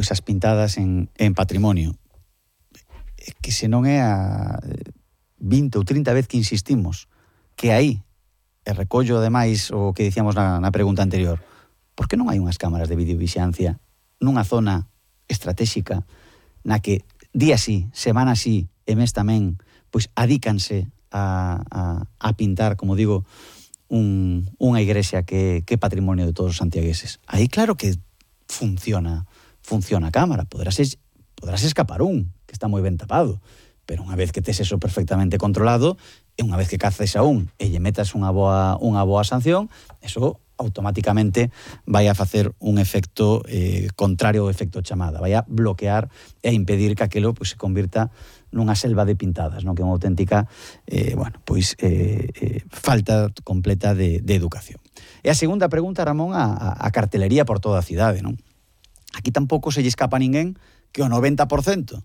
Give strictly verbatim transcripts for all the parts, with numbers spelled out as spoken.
pois as pintadas en, en patrimonio. Que se non é a vinte ou trinta vez que insistimos que aí, e recollo ademais o que dicíamos na, na pregunta anterior, por que non hai unhas cámaras de videovixiancia nunha zona estratégica na que día sí, semana sí, e mes tamén, pois adícanse a, a, a pintar, como digo, un, unha igrexa que, que é patrimonio de todos os santiagueses. Aí claro que funciona, funciona a cámara, poderás, poderás escapar un, que está moi ben tapado, pero unha vez que tes eso perfectamente controlado, e unha vez que caces a un e lle metas unha boa, unha boa sanción, eso automáticamente vai a facer un efecto eh, contrario ao efecto chamada, vai a bloquear e a impedir que aquilo pues, se convirta nunha selva de pintadas, non? Que é unha auténtica eh, bueno, pois, eh, eh, falta completa de, de educación. E a segunda pregunta, Ramón, a, a cartelería por toda a cidade, non? Aquí tampouco se lle escapa a ninguén que o noventa por cento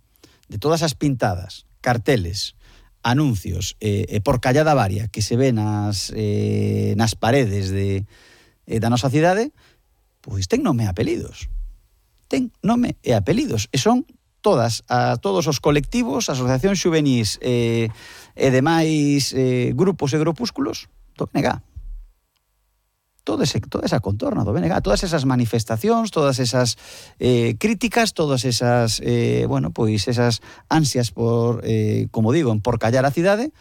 de todas as pintadas, carteles, anuncios eh, eh, por callada varia que se ven nas, eh, nas paredes de, eh, da nosa cidade, pois ten nome e apelidos. Ten nome e apelidos. E son todas, a, todos os colectivos, asociacións xuvenís eh, e demais eh, grupos e grupúsculos do B N G. Todo ese, toda esa contorna do B N G, todas esas manifestacións, todas esas eh, críticas, todas esas, eh, bueno, pois esas ansias por, eh, como digo, por callar a cidade,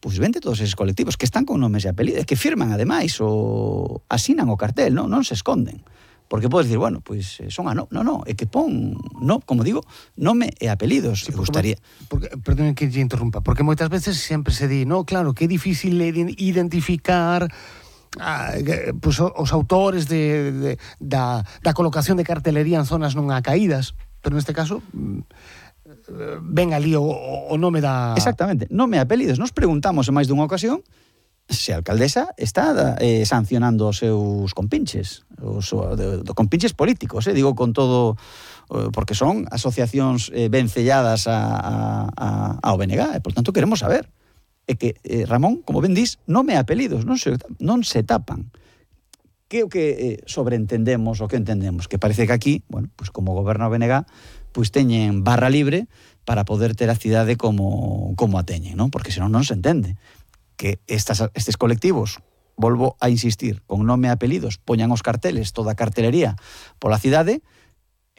pois vente todos esos colectivos que están con nomes e apelidos, que firman ademais o asinan o cartel, non, non se esconden. Porque podes dicir, bueno, pois son a no, no, no, é que pon, no, como digo, nome e apelidos. Sí, porque, gustaría... porque, perdón que lle interrumpa, porque moitas veces sempre se di, no, claro, que é difícil identificar Ah, pues, os autores de, de, da, da colocación de cartelería en zonas non acaídas, pero neste caso ven ali o, o nome da... Exactamente, nome e apelidos. Nos preguntamos en máis dunha ocasión se a alcaldesa está eh, sancionando os seus compinches, os de, de compinches políticos, eh, digo con todo, eh, porque son asociacións eh, vencelladas a, a, a, ao B N G, e por tanto queremos saber. É que, eh, Ramón, como ben dís, nome e apelidos, non se, non se tapan. Que é o que eh, sobreentendemos, o que entendemos? Que parece que aquí, bueno, pues como goberna o B N G, pues teñen barra libre para poder ter a cidade como, como a teñen, non? Porque senón non se entende que estas, estes colectivos, volvo a insistir, con nome e apelidos, poñan os carteles, toda a cartelería pola cidade,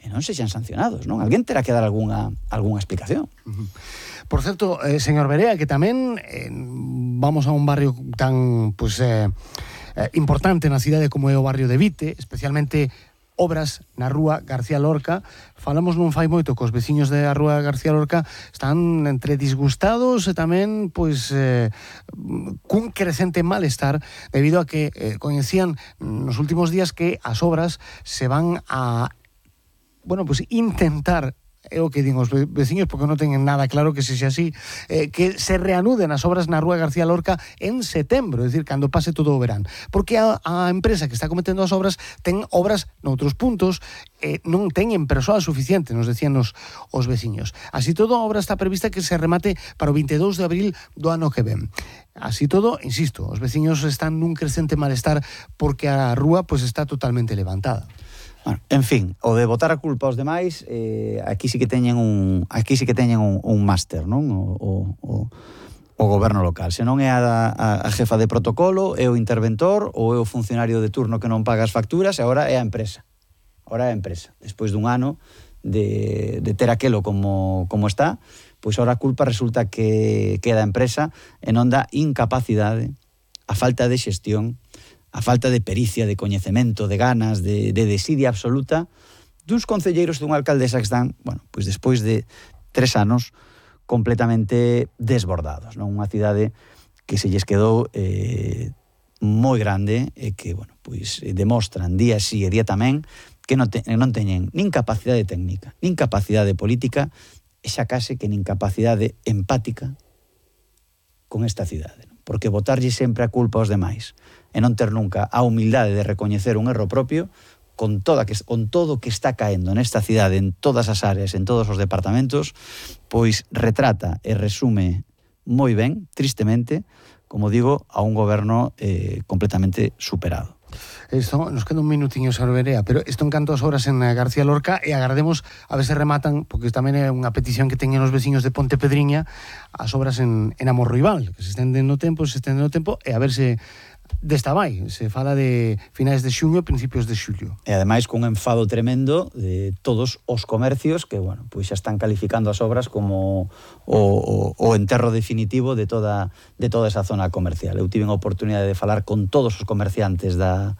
e non sexan sancionados, non? Alguén terá que dar algunha, algunha explicación. Uh-huh. Por certo, eh, señor Berea, que tamén eh, vamos a un barrio tan pues, eh, eh, importante na cidade como é o barrio de Vite, especialmente obras na rúa García Lorca. Falamos non fai moito cos veciños da rúa García Lorca, están entre disgustados e tamén pois eh, cun crecente malestar debido a que eh, coñecían nos últimos días que as obras se van a bueno, pues intentar, é o que din os veciños porque non teñen nada claro que se xa así, eh, que se reanuden as obras na rúa García Lorca en setembro, é dicir, cando pase todo o verán, porque a, a empresa que está cometendo as obras ten obras noutros puntos, eh, non teñen persoal suficiente, nos decían os, os veciños. Así todo, a obra está prevista que se remate para o veintidós de abril do ano que ven. Así todo, insisto, os veciños están nun crecente malestar porque a rúa pues, está totalmente levantada. Bueno, en fin, o de botar a culpa aos demais, eh, aquí sí que teñen un aquí sí que teñen un, un máster, non? O, o, o, o goberno local. Se non é a, a, a jefa de protocolo, é o interventor ou é o funcionario de turno que non paga as facturas, e agora é a empresa. Agora é a empresa. Despois dun ano de, de ter aquelo como, como está, pois agora a culpa resulta que queda a empresa e non dá incapacidade, a falta de xestión, a falta de pericia, de coñecemento, de ganas, de, de desidia absoluta duns concelleiros dunha alcaldesa que están, bueno, pois despois de tres anos completamente desbordados, non? Unha cidade que se lles quedou eh, moi grande e que, bueno, pois demostran día sí e día tamén que non, te, non teñen nin capacidade técnica, nin capacidade política e xa case que nin capacidade empática con esta cidade, non? Porque botarlle sempre a culpa aos demais e non ter nunca a humildade de recoñecer un erro propio con, toda que, con todo que está caendo nesta cidade, en todas as áreas, en todos os departamentos, pois retrata e resume moi ben, tristemente, como digo, a un goberno eh, completamente superado. Isto, nos queda un minutiño, señor Berea, pero isto en canto as obras en García Lorca e agardemos a ver se rematan, porque tamén é unha petición que teñen os veciños de Ponte Pedriña, as obras en, en Amorruibal, que se estenden no tempo, se estenden no tempo, e a ver se desta vai, se fala de finais de xuño, principios de xullo. E ademais cun enfado tremendo de todos os comercios que, bueno, pois xa están calificando as obras como o, o, o enterro definitivo de toda de toda esa zona comercial. Eu tive a oportunidade de falar con todos os comerciantes da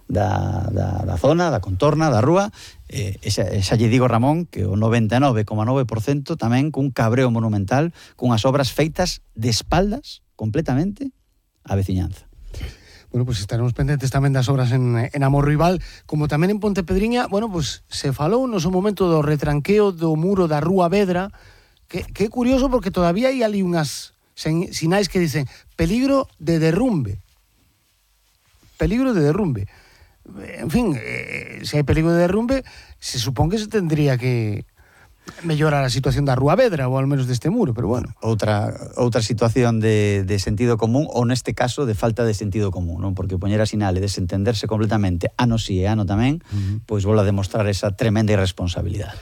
da, da, da zona, da contorna, da rúa, e, e, xa, e xa lle digo, Ramón, que o noventa e nove coma nove por cento tamén cun cabreo monumental, cunhas obras feitas de espaldas completamente á veciñanza. Bueno, pues estaremos pendentes tamén das obras en, en Amorruibal, como tamén en Ponte Pedriña. Bueno, pues se falou no seu momento do retranqueo do muro da Rúa Vedra, que, que é curioso porque todavía hai ali unhas sinais que dicen peligro de derrumbe. Peligro de derrumbe. En fin, eh, se hai peligro de derrumbe, se supón que se tendría que mellorar a situación da Rúa Vedra, ou ao menos deste muro, pero bueno. Outra outra situación de, de sentido común, ou neste caso de falta de sentido común, non? Porque poñer a sinal e desentenderse completamente ano si e ano tamén, uh-huh. pois volve a demostrar esa tremenda irresponsabilidade.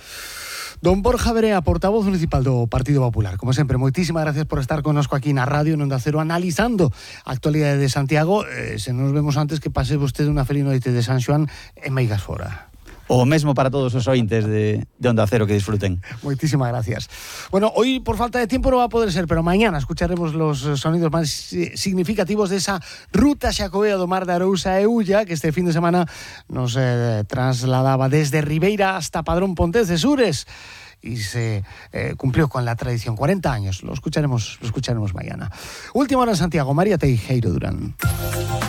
Don Borja Berea, portavoz municipal do Partido Popular. Como sempre, moitísimas gracias por estar connosco aquí na radio, en Onda Cero, analizando a actualidade de Santiago. Eh, se nos vemos antes, que pase vostede unha feliz noite de San Xoán en Meigas Fora. O mesmo para todos os ointes de, de Onda Cero, que disfruten. Muchísimas gracias. Bueno, hoy por falta de tiempo no va a poder ser, pero mañana escucharemos los sonidos más significativos de esa ruta xacobea do Mar de Arousa e Ulla, que este fin de semana nos eh, trasladaba desde Ribeira hasta Padrón Pontecesures y se eh, cumplió con la tradición. cuarenta años, lo escucharemos, lo escucharemos mañana. Última hora en Santiago, María Teijeiro Durán.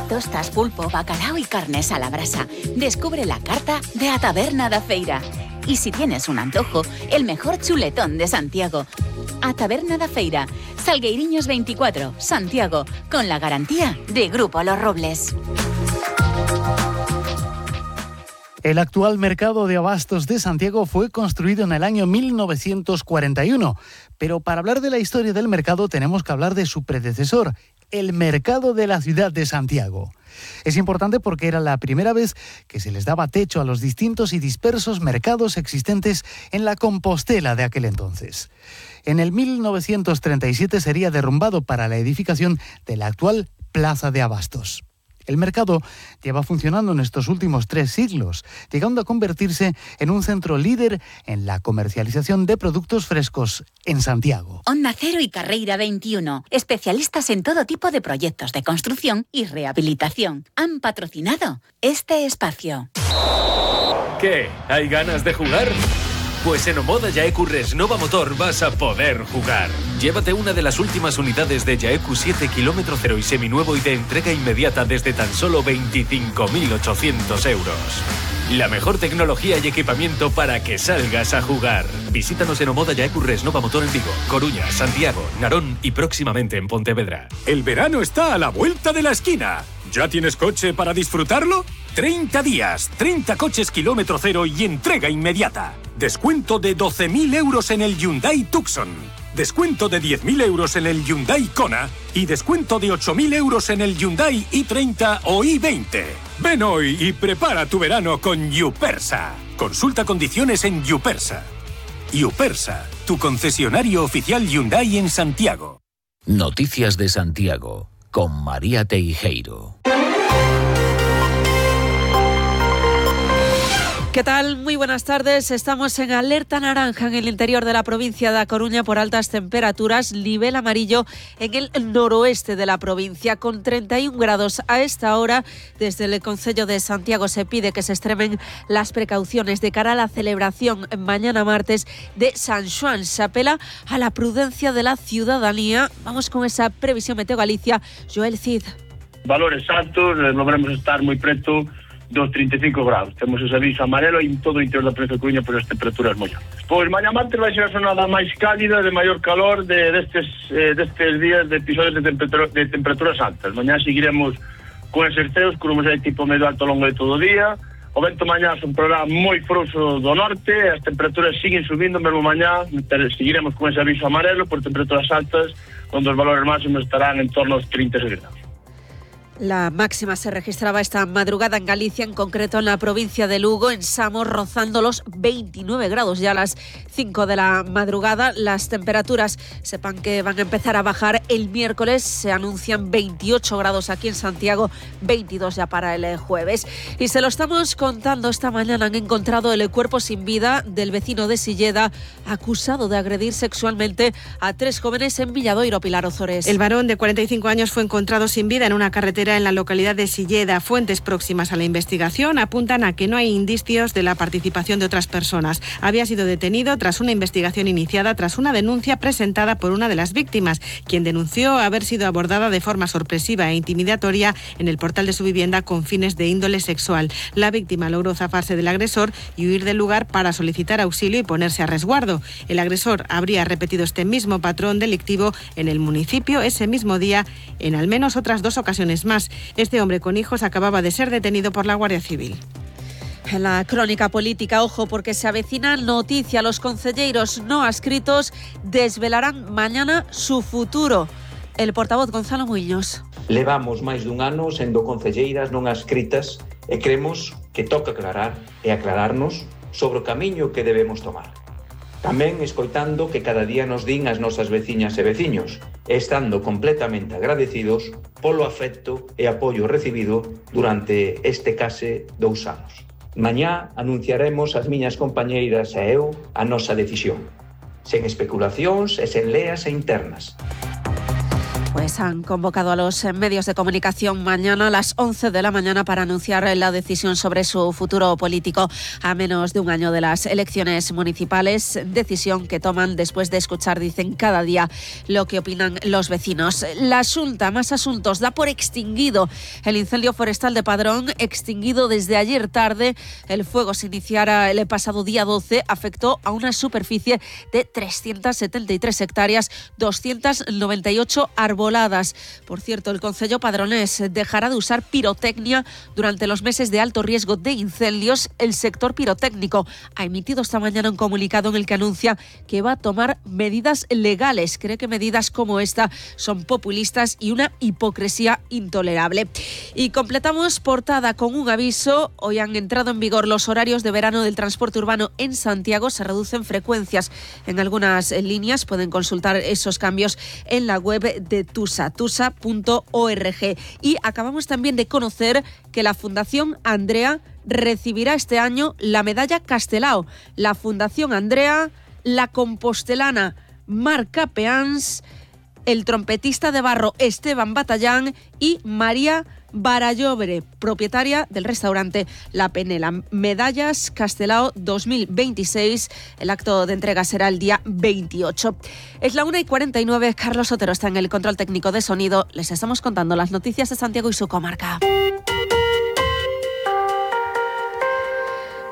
Tostas, pulpo, bacalao y carnes a la brasa. Descubre la carta de A Taberna da Feira. Y si tienes un antojo, el mejor chuletón de Santiago. A Taberna da Feira, Salgueiriños veinticuatro, Santiago, con la garantía de Grupo Los Robles. El actual mercado de abastos de Santiago fue construido en el año mil novecientos cuarenta y uno, pero para hablar de la historia del mercado tenemos que hablar de su predecesor, el mercado de la ciudad de Santiago. Es importante porque era la primera vez que se les daba techo a los distintos y dispersos mercados existentes en la Compostela de aquel entonces. En el mil novecientos treinta y siete sería derrumbado para la edificación de la actual Plaza de Abastos. El mercado lleva funcionando en estos últimos tres siglos, llegando a convertirse en un centro líder en la comercialización de productos frescos en Santiago. Onda Cero y Carreira veintiuno, especialistas en todo tipo de proyectos de construcción y rehabilitación, han patrocinado este espacio. ¿Qué? ¿Hay ganas de jugar? Pues en Omoda Yaeku Resnova Motor vas a poder jugar. Llévate una de las últimas unidades de Yaeku siete kilómetro cero y seminuevo y de entrega inmediata desde tan solo veinticinco mil ochocientos euros. La mejor tecnología y equipamiento para que salgas a jugar. Visítanos en Omoda Yaeku Resnova Motor en Vigo, Coruña, Santiago, Narón y próximamente en Pontevedra. El verano está a la vuelta de la esquina. ¿Ya tienes coche para disfrutarlo? treinta días, treinta coches kilómetro cero y entrega inmediata. Descuento de doce mil euros en el Hyundai Tucson. Descuento de diez mil euros en el Hyundai Kona. Y descuento de ocho mil euros en el Hyundai i treinta o i veinte. Ven hoy y prepara tu verano con Yupersa. Consulta condiciones en Yupersa. Yupersa, tu concesionario oficial Hyundai en Santiago. Noticias de Santiago, con María Teijeiro. ¿Qué tal? Muy buenas tardes. Estamos en alerta naranja en el interior de la provincia de A Coruña por altas temperaturas, nivel amarillo en el noroeste de la provincia, con treinta y un grados a esta hora. Desde el Concello de Santiago se pide que se extremen las precauciones de cara a la celebración mañana martes de San Xoán. Se apela a la prudencia de la ciudadanía. Vamos con esa previsión Meteo Galicia. Joel Cid. Valores altos, logramos estar moi preto dos treinta e cinco grados. Temos ese aviso amarelo en todo o interior da provincia de Coruña por as temperaturas moi altas. Pois mañá martes vai ser a jornada máis cálida, de maior calor de destes eh, destes días de episodios de, temperatura, de temperaturas altas. Mañá seguiremos con eses ceos, con un tipo medio alto ao longo de todo o día. O vento mañá soprará moi frouxo do norte, as temperaturas siguen subindo, mesmo mañá seguiremos con ese aviso amarelo por temperaturas altas, onde os valores máximos estarán en torno aos trinta e seis grados. La máxima se registraba esta madrugada en Galicia, en concreto en la provincia de Lugo, en Samos, rozando los veintinueve grados ya a las cinco de la madrugada. Las temperaturas, sepan que van a empezar a bajar el miércoles, se anuncian veintiocho grados aquí en Santiago, veintidós ya para el jueves. Y se lo estamos contando esta mañana, han encontrado el cuerpo sin vida del vecino de Silleda, acusado de agredir sexualmente a tres jóvenes en Villadoiro. Pilar Ozores. El varón de cuarenta y cinco años fue encontrado sin vida en una carretera en la localidad de Silleda. Fuentes próximas a la investigación apuntan a que no hay indicios de la participación de otras personas. Había sido detenido tras una investigación iniciada tras una denuncia presentada por una de las víctimas, quien denunció haber sido abordada de forma sorpresiva e intimidatoria en el portal de su vivienda con fines de índole sexual. La víctima logró zafarse del agresor y huir del lugar para solicitar auxilio y ponerse a resguardo. El agresor habría repetido este mismo patrón delictivo en el municipio ese mismo día en al menos otras dos ocasiones más. Este hombre con hijos acababa de ser detenido por la Guardia Civil. En la crónica política, ojo, porque se avecina noticia. Los concelleiros no adscritos desvelarán mañana su futuro. El portavoz Gonzalo Muiños. Levamos máis dun ano sendo concelleiras non adscritas e cremos que toca aclarar e aclararnos sobre o camiño que debemos tomar. Tamén escoitando que cada día nos din as nosas veciñas e veciños, estando completamente agradecidos polo afecto e apoio recibido durante este case dous anos. Mañá anunciaremos as miñas compañeiras e eu a nosa decisión, sen especulacións e sen leas e internas. Pues han convocado a los medios de comunicación mañana a las once de la mañana para anunciar la decisión sobre su futuro político a menos de un año de las elecciones municipales, decisión que toman después de escuchar, dicen, cada día lo que opinan los vecinos. La Xunta, más asuntos, da por extinguido el incendio forestal de Padrón, extinguido desde ayer tarde. El fuego se iniciara el pasado día doce, afectó a una superficie de trescientas setenta y tres hectáreas, doscientas noventa y ocho árboles. Por cierto, el concello padronés dejará de usar pirotecnia durante los meses de alto riesgo de incendios. El sector pirotécnico ha emitido esta mañana un comunicado en el que anuncia que va a tomar medidas legales. Cree que medidas como esta son populistas y una hipocresía intolerable. Y completamos portada con un aviso. Hoy han entrado en vigor los horarios de verano del transporte urbano en Santiago. Se reducen frecuencias en algunas líneas. Pueden consultar esos cambios en la web de Tusa, tusa punto org. Y acabamos también de conocer que la Fundación Andrea recibirá este año la medalla Castelao. La Fundación Andrea, la compostelana Marca Peans, el trompetista de barro Esteban Batallán y María Barallobre, propietaria del restaurante La Penela. Medallas Castelao dos mil veintiséis. El acto de entrega será el día veintiocho. Es la una y cuarenta y nueve. Carlos Otero está en el control técnico de sonido. Les estamos contando las noticias de Santiago y su comarca.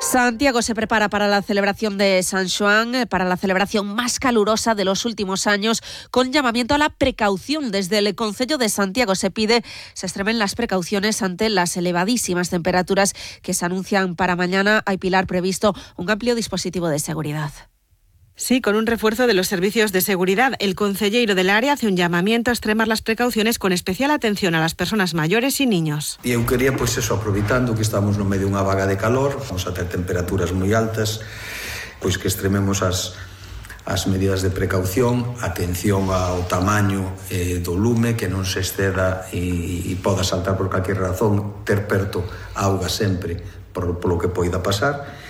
Santiago se prepara para la celebración de San Xoán, para la celebración más calurosa de los últimos años, con llamamiento a la precaución. Desde el Concello de Santiago se pide se extremen las precauciones ante las elevadísimas temperaturas que se anuncian para mañana. Hay, Pilar, previsto un amplio dispositivo de seguridad. Sí, con un refuerzo de los servicios de seguridad. El concelleiro del área hace un llamamiento a extremar las precauciones con especial atención a las personas mayores y niños. E eu quería, pois eso, aproveitando que estamos no medio dunha vaga de calor, vamos a ter temperaturas moi altas, pois que extrememos as, as medidas de precaución, atención ao tamaño eh, do lume, que non se exceda e, e poda saltar por calquer razón, ter perto auga sempre por, por lo que poida pasar.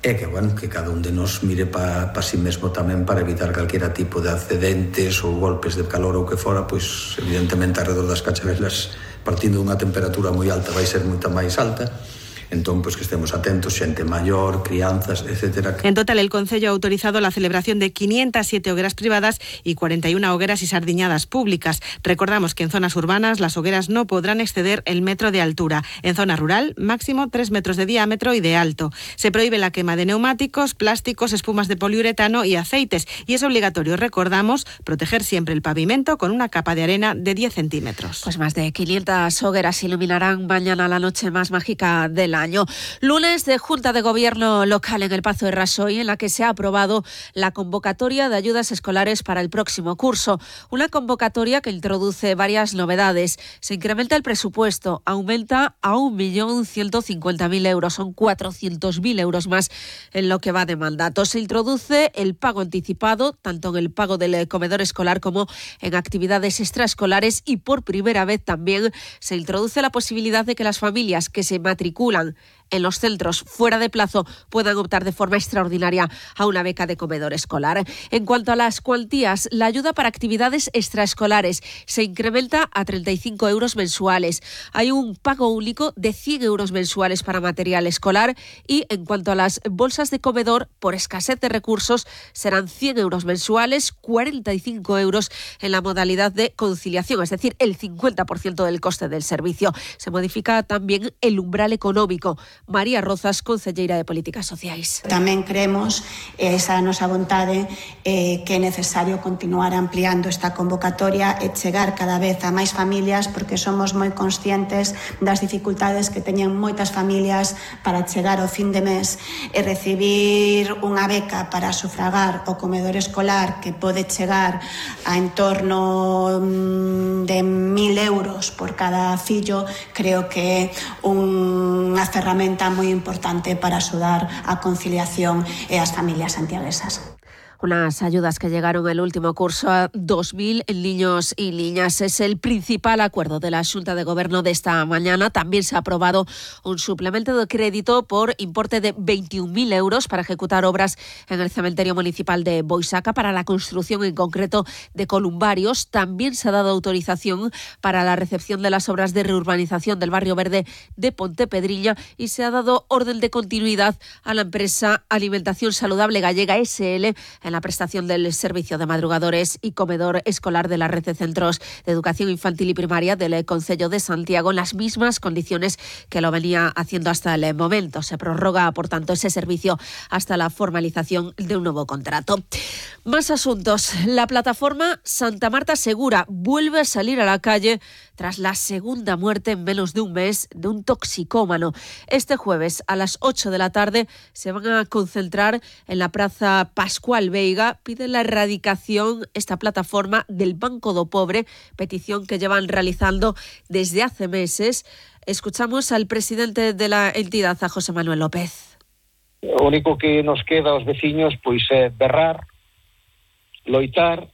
É que, bueno, que cada un de nos mire para pa si mesmo tamén para evitar calquera tipo de accidentes ou golpes de calor ou que fora, pois evidentemente alrededor das cachavelas, partindo dunha temperatura moi alta, vai ser moita máis alta. Entón, pues que estemos atentos, xente maior, crianzas, etcétera. En total, el Concello ha autorizado la celebración de quinientas siete hogueras privadas y cuarenta y una hogueras y sardiñadas públicas. Recordamos que en zonas urbanas las hogueras no podrán exceder el metro de altura. En zona rural, máximo tres metros de diámetro y de alto. Se prohíbe la quema de neumáticos, plásticos, espumas de poliuretano y aceites. Y es obligatorio, recordamos, proteger siempre el pavimento con una capa de arena de diez centímetros. Pues más de quinientas hogueras iluminarán mañana la noche más mágica del año. año. Lunes de Junta de Gobierno local en el Pazo de Rasoy, en la que se ha aprobado la convocatoria de ayudas escolares para el próximo curso. Una convocatoria que introduce varias novedades. Se incrementa el presupuesto, aumenta a un millón ciento cincuenta mil euros, son cuatrocientos mil euros más en lo que va de mandato. Se introduce el pago anticipado, tanto en el pago del comedor escolar como en actividades extraescolares, y por primera vez también se introduce la posibilidad de que las familias que se matriculan en los centros fuera de plazo puedan optar de forma extraordinaria a una beca de comedor escolar. En cuanto a las cuantías, la ayuda para actividades extraescolares se incrementa a treinta y cinco euros mensuales. Hay un pago único de cien euros mensuales para material escolar, y en cuanto a las bolsas de comedor, por escasez de recursos, serán cien euros mensuales, cuarenta y cinco euros en la modalidad de conciliación, es decir, el cincuenta por ciento del coste del servicio. Se modifica también el umbral económico. María Rozas, concelleira de Políticas Sociais. Tamén creemos, esa nosa vontade, eh, que é necesario continuar ampliando esta convocatoria e chegar cada vez a máis familias, porque somos moi conscientes das dificultades que teñen moitas familias para chegar ao fin de mes e recibir unha beca para sufragar o comedor escolar, que pode chegar a en torno de mil euros por cada fillo. Creo que é unha ferramenta moi importante para axudar a conciliación e as familias santiaguesas. Unas ayudas que llegaron el último curso a dos mil niños y niñas. Es el principal acuerdo de la Xunta de Gobierno de esta mañana. También se ha aprobado un suplemento de crédito por importe de veintiún mil euros para ejecutar obras en el cementerio municipal de Boisaca, para la construcción en concreto de columbarios. También se ha dado autorización para la recepción de las obras de reurbanización del barrio verde de Pontepedriña, y se ha dado orden de continuidad a la empresa Alimentación Saludable Gallega S L en la prestación del servicio de madrugadores y comedor escolar de la red de centros de educación infantil y primaria del Concello de Santiago, en las mismas condiciones que lo venía haciendo hasta el momento. Se prorroga, por tanto, ese servicio hasta la formalización de un nuevo contrato. Más asuntos. La plataforma Santa Marta Segura vuelve a salir a la calle tras la segunda muerte en menos de un mes de un toxicómano. Este jueves a las ocho de la tarde se van a concentrar en la Praza Pascual Veiga. Pide la erradicación, esta plataforma, del Banco do Pobre, petición que llevan realizando desde hace meses. Escuchamos al presidente de la entidad, a José Manuel López. O único que nos queda aos veciños pois é berrar, loitar,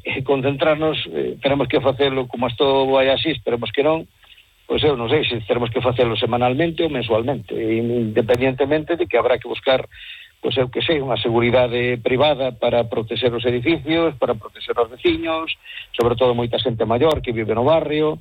e concentrarnos. Eh, tenemos que facelo como isto vai así, esperemos que non. Pois eu non sei se tenemos que facelo semanalmente ou mensualmente, independientemente de que habrá que buscar, pois eu que sei, unha seguridade privada para proteger os edificios, para proteger os veciños, sobre todo moita xente maior que vive no barrio.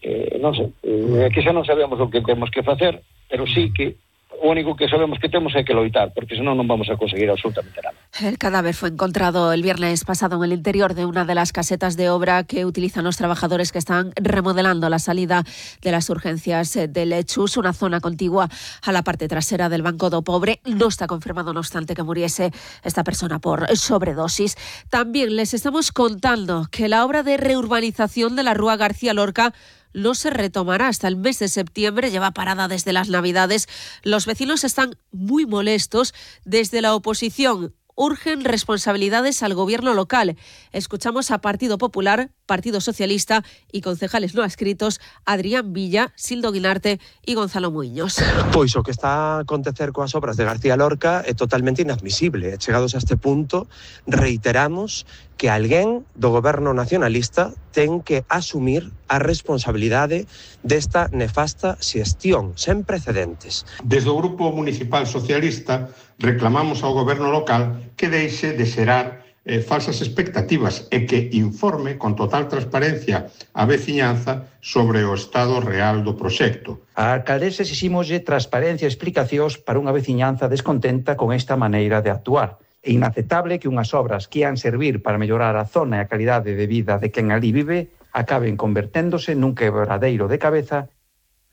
Eh, non sei, eh, que xa non sabemos o que temos que facer, pero sí que o único que sabemos que temos é que loitar, porque senón non vamos a conseguir absolutamente nada. El cadáver fue encontrado el viernes pasado en el interior de una de las casetas de obra que utilizan los trabajadores que están remodelando la salida de las urgencias del Chus, una zona contigua a la parte trasera del Banco do Pobre. No está confirmado, no obstante, que muriese esta persona por sobredosis. También les estamos contando que la obra de reurbanización de la Rúa García Lorca no se retomará hasta el mes de septiembre, lleva parada desde las Navidades. Los vecinos están muy molestos. Desde la oposición urgen responsabilidades al gobierno local. Escuchamos a Partido Popular, Partido Socialista y concejales no adscritos Adrián Villa, Sildo Guinarte y Gonzalo Muiños. Pois o que está a acontecer coas obras de García Lorca é totalmente inadmisible. Chegados a este punto, reiteramos que alguén do goberno nacionalista ten que asumir a responsabilidade desta nefasta xestión sen precedentes. Desde o Grupo Municipal Socialista reclamamos ao goberno local que deixe de xerar eh, falsas expectativas e que informe con total transparencia a veciñanza sobre o estado real do proxecto. A alcaldesa exiximoslle transparencia e explicacións para unha veciñanza descontenta con esta maneira de actuar. É inaceptable que unhas obras que ian servir para mellorar a zona e a calidade de vida de quen ali vive acaben converténdose nun quebradeiro de cabeza.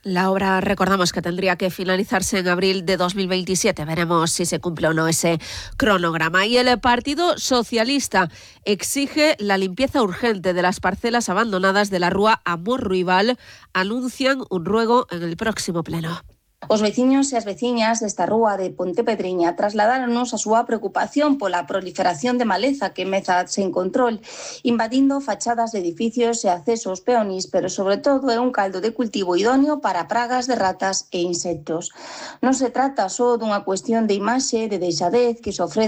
La obra, recordamos que tendría que finalizarse en abril de dos mil veintisiete. Veremos si se cumple o no ese cronograma. Y el Partido Socialista exige la limpieza urgente de las parcelas abandonadas de la Rúa Amor Ruibal. Anuncian un ruego en el próximo pleno. Os veciños e as veciñas desta rúa de Pontepedriña trasladáronos a súa preocupación pola proliferación de maleza que meza sen control, invadindo fachadas de edificios e accesos peonís, pero sobre todo é un caldo de cultivo idóneo para pragas de ratas e insectos. Non se trata só dunha cuestión de imaxe, de deixadez que se ofrece